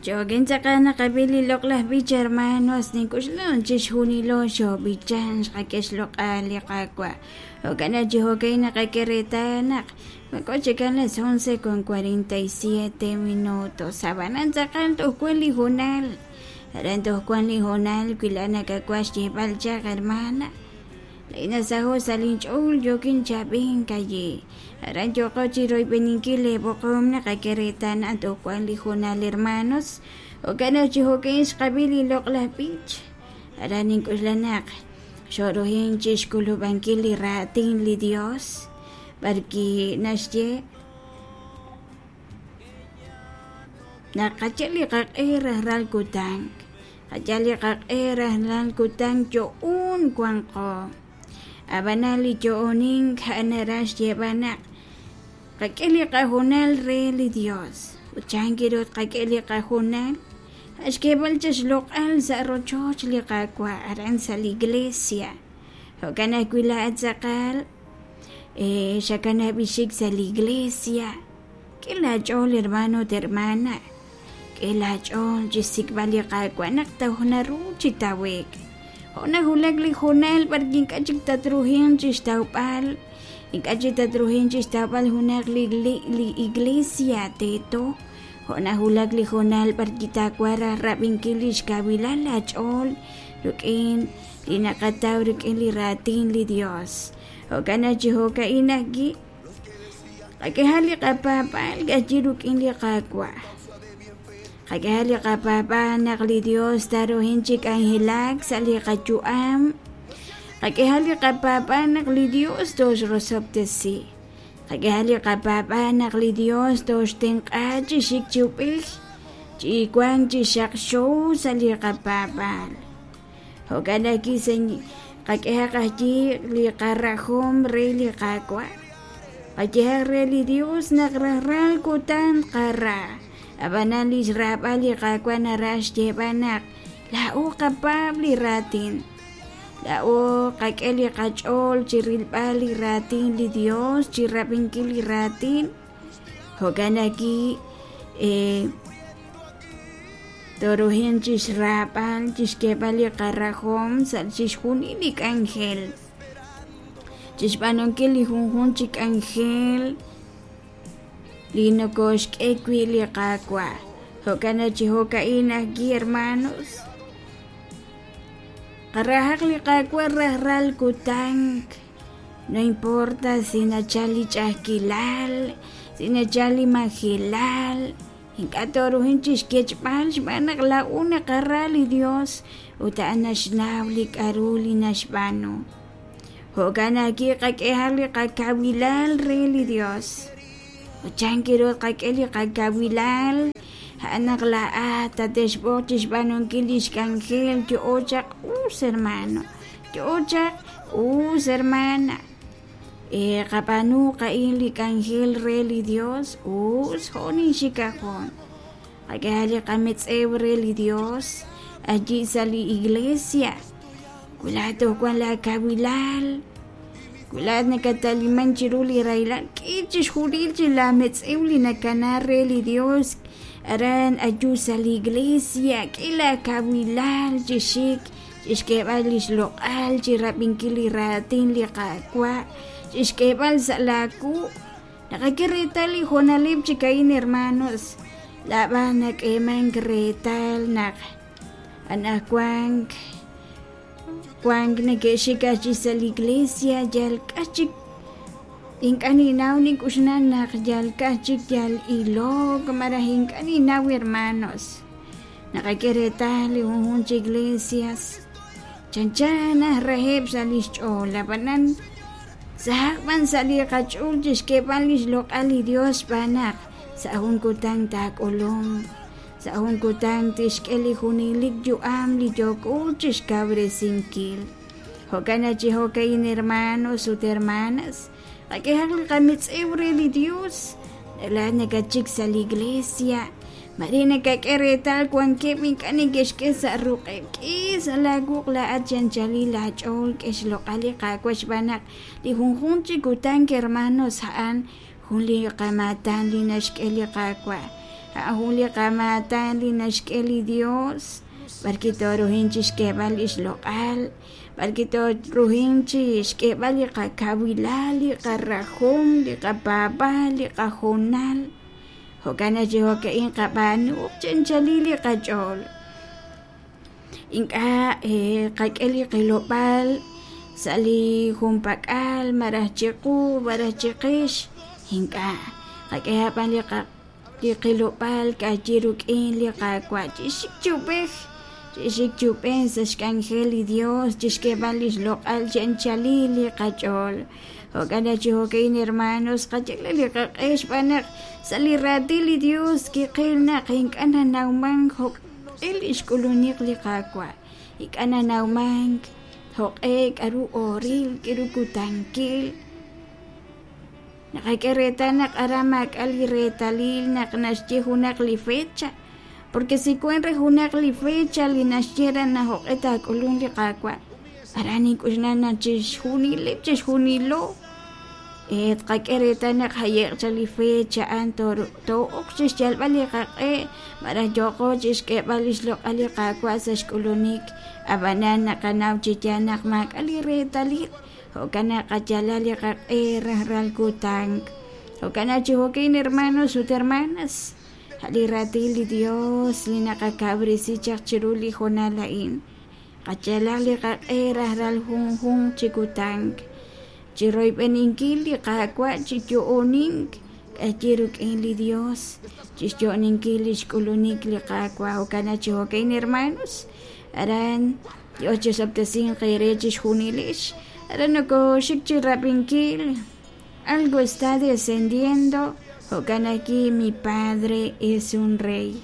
Jo'kan tz'aqal naqab'i li loq'laj b'ich hermanos nink'uxlan chixjunilo xoob'ichan xqak'e xloq'al li Qaawa'. Jo'kan naq chi jo'kan naqak'e reetal naq wanko chikan las 11:47 minutos. Ab'anan tz'aqal toj wan li hoonal, aran toj wan li hoonal wi laa'at nakawaj xyeeb'al chaq hermana. Laa'in nasaho' sa' linch'ool yookin chi ab'ink ayi. Aran yooqo chi royb'eninkil leeb'oqom naqak'e reetal naq toj wan li hoonal hermanos. Jo'kan naq chi jo'kan xqab'i li loq'laj b'ich. Aran nink'oxla naq xoorohin chi xk'ulub'ankil li raatin li Dios b'arwi' naxye naq qayal li qaq'e rajlal kutan. Qayal li qaq'e rajlal kutan yo'oon wanqo. Ab'anan li yo'onink a'an naraj xyeeb'al naq qak'e li qahoonal re li Dios. Ut chan ru tqak'e li qahoonal? A' xk'eeb'al chaq xloq'al sa' rochoch li Qaawa' aran sa' li iglesia. Jo'kan ajwi' laa'at tz'aqal xakanab' xik sa' li iglesia. K'e laach'ool hermano ut hermana. K'e laach'ool chi xsik'b'al li Qaawa' naq toj naru chi tawe'k. Jo' nawulak li hoonal b'arwi' ink'a' chik tatruhinq chi xtawb'al, ink'a' chik tatruhinq chi xtawb'al junaq li iglesia teeto. Jo' nawulak li hoonal b'arwi' taawaj raj rab'inkil li xkawilal laach'ool rik'in li naqataw rik'in li raatin li Dios. Jo'kan naq chi jo'ka'in ajwi'. Qak'ehaq li qapaab'aal ka'ajwi' rik'in li Qaawa'. Qak'ehaq li qapaab'aal naq li Dios taaruhin chi k'anjelak sa' li qayu'am. Qak'ehaq li qapaab'aal naq li Dios tooxrosob'tesi. Qak'ehaq li qapaab'aal naq li Dios tooxtenq'a chi xik chi ub'ej, chi wank chi xaqxo sa' li qapaab'aal. Jo'kan ajwi' qak'ehaq ajwi' li qarajom re li Qaawa'. Qayehaq re li Dios naq rajlal kutan tqara. Ab'anan li xraab'al li Qaawa' naraj xyeeb'al naq laa'o qapaab' li raatin. Laa'o qak'e li qach'ool chi rilb'al li raatin li Dios, chi rab'inkil li raatin. Jo'kan ajwi' Tooruhin chi xraab'al, chi xk'eeb'al li qarajom sa' chixjunil li k'anjel, chi xb'aanunkil li junjunq chi k'anjel li nokooxk'e wi' li Qaawa'. Jo'kan naq chi jo'ka'in ajwi', hermanos, qarahaq li Qaawa' rajlal kutan. No importa si nachal li ch'a'ajkilal, si nachal li majelal. Ink'a' tooruhin chi xkechb'al xb'aan naq laa'o naqara li Yos ut a'an naxnaw li k'aru li naxb'aanu. Jo'kan ajwi' qak'ehaq li qakawilal re li Yos. Ut chan ru tqak'e li qakawilal? A'an naq laa'at tate'xb'oq chi xb'aanunkil li xk'anjel yo'o chaq us hermano, yo'o chaq us hermana. Qab'aanu qa'in li k'anjel re li Dios us jo' ninxik ajoon. Qak'ehaq li qametz'ew re li Dios allí sa' li iglesia. Wi laa'at toj wan laa kawilal, wi laa'at nakataliman chiru li rahilal, k'e chixjunil chi laa metz'ew li nakana re li Dios aran ayu sa' li iglesia, k'e laa kawilal chi xik chixk'eeb'al lix loq'al, chirab'inkil li raatin li Qaawa', chixk'eeb'al sa' laa wuq'. Naqak'e reetal li hoonaleb' chik a'in, hermanos, laab'an nak'eemank reetal naq anajwank wank neke'xik aj chi sa' li iglesia yal k'a chik ink'a' ninnaw nink'uxnan naq yal k'a chik yal ilok malaj ink'a' ninnaw hermanos. Naqak'e reetal li junjunq chi iglesias chanchan aj reheb' sa' li xch'ool, ab'anan sahaq b'an sa' li qach'ool chi xk'eeb'al li xloq'al li Dios xb'aan naq sa' jun kutan taak'ulunq, sa' jun kutan tixk'e li junelik yu'am li yooko chi xkawresinkil. Jo'kan naq chi jo'ka'in hermanos ut hermanas, qak'ehaq li qametz'ew re li Dios, laa'at nakatxik sa' li iglesia, Mare nakak'e reetal wankeb' ink'a' neke'xk'e sa' ruq'eb'. K'e sa' laawuq' laa'at chi anchalil laach'ool, k'e xloq'al li Qaawa' xb'aan naq li junjunq chi kutan hermanos a'an jun li qamaatan li naxk'e li Qaawa'. A'an jun li qamaatan li naxk'e li Dios b'arwi' tooruhin chi xk'eeb'al li xloq'al, b'arwi' tooruhin chi xk'eeb'al li qakawilal, li qarajom, li qapaab'aal, li qahoonal. Jo'kan naq chi jo'ka'in qab'aanuuq chi anchalil li qach'ool. Ink'a' qak'e li qilob'aal sa' li junpak'al malaj chiqu malaj chiqix, ink'a' qak'ehaq b'an li qa li qilob'aal ka'ajwi' rik'in li Qaawa' chixik chi ub'ej, chixik chi ub'ej sa' xk'anjel li Dios, chixk'eeb'al lix loq'al chi anchalil li qach'ool. Jo'kan naq chi jo'ka'in hermanos, qayal li qaq'e xb'aan naq sa' li raatin li Dios kiqil naq ink'a' nanawman jo'q'e li xk'ulunik li Qaawa', ink'a' nanawmank jo'q'e k'a'ru ooril, k'a'ru kutankil. Naqak'e reetal naq aran maak'a' li reetalil naq naxye junaq li fecha, porque si wank re junaq li fecha li naxye re naq jo'q'e taak'ulunk li Qaawa', aran nink'oxla naq chixjunileb' chixjunilo tqak'e reetal naq jaye'q chaq li fecha a'an too'ok chi xyalb'al li qaq'e malaj yooqo chi xk'eeb'al li xloq'al li Qaawa' sa' xk'ulunik, ab'anan naqanaw chi yaal naq maak'a' li reetalil. Jo'kan naq qayalaq li qaq'e rajlal kutan. Jo'kan naq chi jo'kin hermanos ut hermanas, a' li raatin li Dios li naqakawresi chaq chiru li hoonal a'in. Qayalaq li qaq'e rajlal junjunq chi kutan, chi royb'eninkil li Qaawa' chi yo'onink k'ayi rik'in li Dios, chi xyo'oninkil li xk'ulunik li Qaawa'. Jo'kan naq chi jo'kin hermanos, aran Dios chisob'tesinq eere chixjunilex. Aran nokoxik chi rab'inkil. Algo está descendiendo. Jo'kan aquí mi padre es un rey.